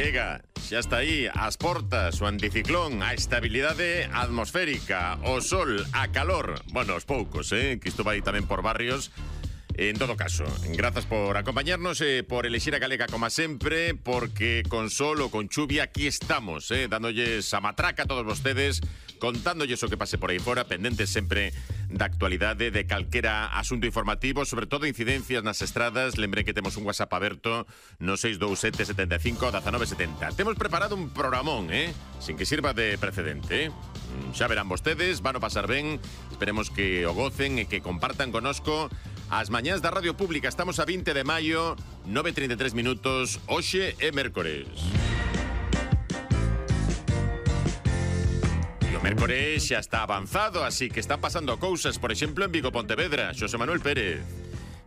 Chega, xa está aí, as portas, o anticiclón, a estabilidade atmosférica, o sol, a calor. Bueno, os poucos, que isto vai tamén por barrios. En todo caso, grazas por acompañarnos e por elixir a galega como sempre, porque con sol ou con chuvia aquí estamos, dándolles a matraca a todos vostedes, contándolles o que pase por aí fora, pendentes sempre da actualidade, de calquera asunto informativo, sobre todo incidencias nas estradas. Lembrem que temos un WhatsApp aberto no 627 75 1970. Temos preparado un programón, sin que sirva de precedente. Xa verán vostedes, van a pasar ben, esperemos que o gocen e que compartan conosco as mañás da Radio Pública. Estamos a 20 de maio, 9:33 minutos, hoxe é mércores. E o mércores xa está avanzado, así que están pasando cousas, por exemplo, en Vigo, Pontevedra. Xosé Manuel Pérez.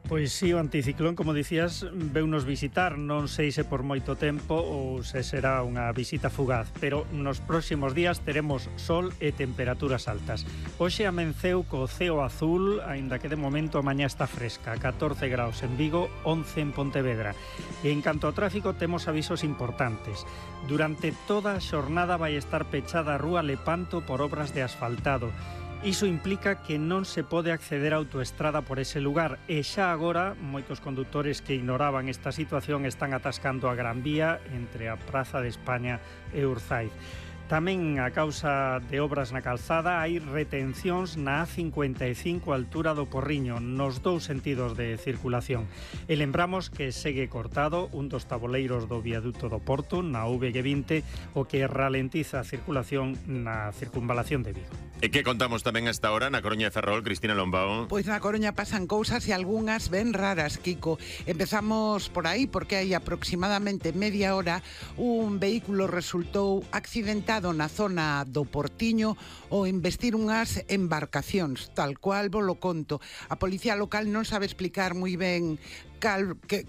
Pois si, o anticiclón, como dicías, veunos visitar, non sei se por moito tempo ou se será unha visita fugaz, pero nos próximos días teremos sol e temperaturas altas. Hoxe amenceu co ceo azul, aínda que de momento a mañá está fresca, 14 graus en Vigo, 11 en Pontevedra. E en canto ao tráfico temos avisos importantes. Durante toda a xornada vai estar pechada a rúa Lepanto por obras de asfaltado. Iso implica que non se pode acceder á autoestrada por ese lugar e xa agora moitos condutores que ignoraban esta situación están atascando a Gran Vía entre a Praza de España e Urzaiz. Tamén a causa de obras na calzada hai retencións na A55 a altura do Porriño nos dous sentidos de circulación. E lembramos que segue cortado un dos taboleiros do viaduto do Porto na VG20, o que ralentiza a circulación na circunvalación de Vigo. E que contamos tamén hasta ahora na Coruña de Ferrol, Cristina Lombao? Pois na Coruña pasan cousas e algunhas ben raras, Kiko. Empezamos por aí porque hai aproximadamente media hora un vehículo resultou accidentado na zona do Portiño ao investir unhas embarcacións, tal cual vos lo conto. A policía local non sabe explicar moi ben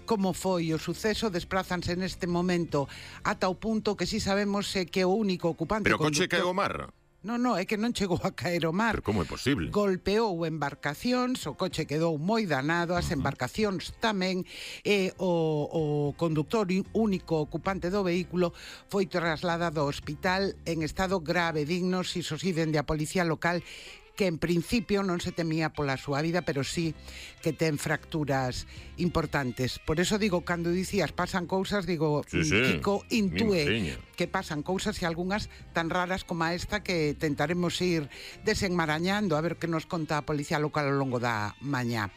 como foi o suceso, desprázanse neste momento ata o punto que si sabemos que o único ocupante... Pero o coche caeu ao mar? Non, é que non chegou a caer o mar. Pero como é posible? Golpeou embarcacións, o coche quedou moi danado, as embarcacións tamén, e o conductor único ocupante do vehículo foi trasladado ao hospital en estado grave, dignos, iso si, dende a policía local, que en principio non se temía pola súa vida, pero sí que ten fracturas importantes. Por eso digo, cando dicías pasan cousas, digo, Kiko intúe que pasan cousas e algunhas tan raras como esta que tentaremos ir desenmarañando a ver que nos conta a policía local ao longo da mañá.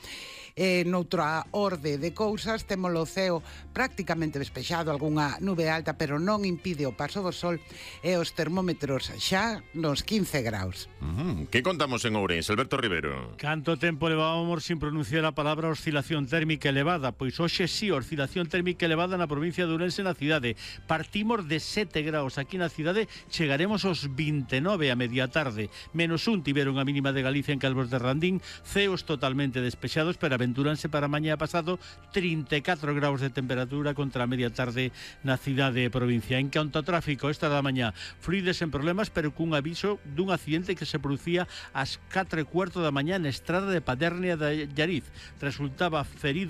Noutra orde de cousas, temos o ceo prácticamente despexado, algunha nube alta, pero non impide o paso do sol e os termómetros xa nos 15 graus. Que contamos en Ourense, Alberto Rivero? Canto tempo levábamos sin pronunciar a palabra oscilación térmica elevada? Pois hoxe sí, oscilación térmica elevada na provincia de Ourense, na cidade. Partimos de 7 graus aquí na cidade, chegaremos aos 29 a media tarde. -1 tiveron a mínima de Galicia en Calvos de Randín, ceos totalmente despexados, pero aventúranse para mañá pasado 34 graus de temperatura contra a media tarde na cidade e provincia. En canto ao tráfico, esta da mañá, fluides en problemas, pero cun aviso dun accidente que se producía ás 4:15 da mañá na estrada de Padernia de Llariz. Resultaba ferido